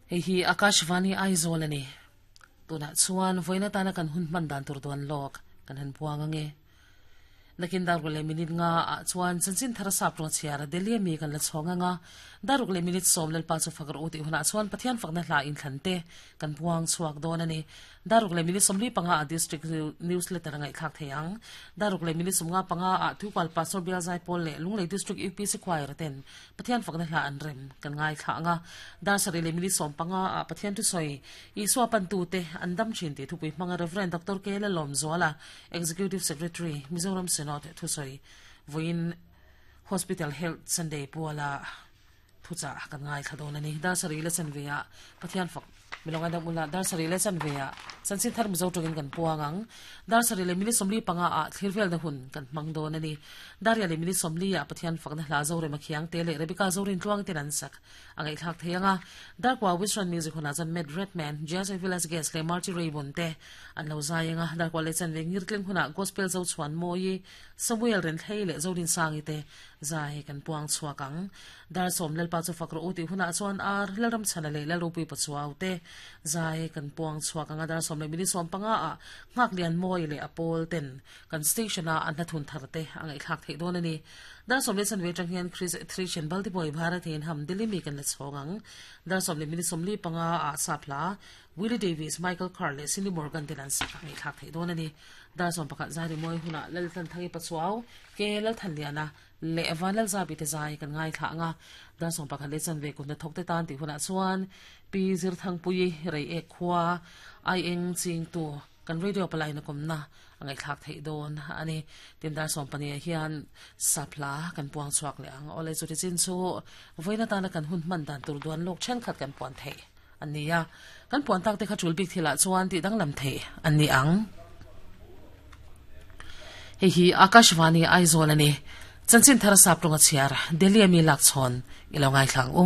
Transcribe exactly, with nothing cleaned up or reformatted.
Hei hi Akashvani Aizawl ani. Tunah chuan vawiin atana kan hun hman dan tur dawn lawk kan han buang ange. Nakin daruk leh minute nga ah chuan chanchin thar sap rawng chhiar Delhi ami kan la chhawng anga daruk leh minute sawm Lalpa chu fak rawh u tih hunah chuan Pathian fakna hla inthlan te kan buang chhuak dawn ani. Daruk leh minute sawmli panga ah district newsletter a ngaihthlak thei ang. Daruk leh minute sawmnga panga ah Tuikual Pastor Bial Zaipawl leh Lunglei District U P C Choir ten Pathian fakna hla an rem kan ngaithla anga dar sarih leh minute sawm panga ah Pathian thusawi Isua pantute an dam thin tih thupui hmanga Rev. Doctor K Lalawmzuala Executive Secretary Mizoram Synod thusawi vawiin Hospital Health Sunday puala thuchah kan ngaithla dawn a ni. Dar sarih leh chanve ah Pathian fak milawng a dam ula dar sarih leh chanve ah chanchin thar Mizo tawngin kan puang ang. Dar sarih leh minute sawmli panga ah thlir velna hun kan hmang dawn a ni. Daria leh minute sawmli ah Pathian fakna hla Zorema Khiang te leh Rebecca Zorin Tluang ten an sak a ngaihthlak thei ang a. Darkua Western Music hunah chuan Matt Redman, Jazz Villas Guest leh Marty Raybon te an lo zai ang a. Darkua leh chanve ngirtling hunah Gospel Zochhuan Mawi, Samuel Renthlei leh Zorinsangi te zai kan puang chhuak ang. Dar sawm Lalpa chu fak rawh u tih hunah chuan Ar Lalramchhana leh Lalropui Pachuau te zai kan puang chhuak ang a. Dar sawm leh minute sawm panga ah Nghaklian Mawi leh a pawl ten kan station a an hnathun thar te a ngaihthlak theih dawn a ni. Dar sawm leh chanve atang hian Chris Thrishen Baltiboy Bharathian ham Delhi mi kan la chhawng ang. Dar sawm leh minute sawmli panga ah Sapla Willie Davis, Michael Carr leh Cindy Morgan ten an sak a ngaihthlak theih dawn a ni. Dar sawm pakhat zai rimawi hunah Laltanthangi Pachuau, Ke Lalthanliana leh Vanlalzabi te zai kan ngaithla ang a. Dar sawm pakhat leh chanve kut hnathawk te tan tih hunah chuan Pi Zirthangpuii Reiek khua Ai Eng Chingtu kan radio palaina kawmna a ngaihthlak theih dawn a ni. Tin dar sawm pahnih ah hian Sapla kan puang chhuak leh ang. Awle chuti chin chu vawiin atana kan hun hman dan tur duan lawk thenkhat kan puan theih an ni a. Kan puan tak te kha tul bik thilah chuan tih danglam theih an ni ang. Hei hi Akashvani Aizawl a ni. Chanchin thar sap rawnga chhiar Delhi ami lak chhawn i lo ngaithla ang u.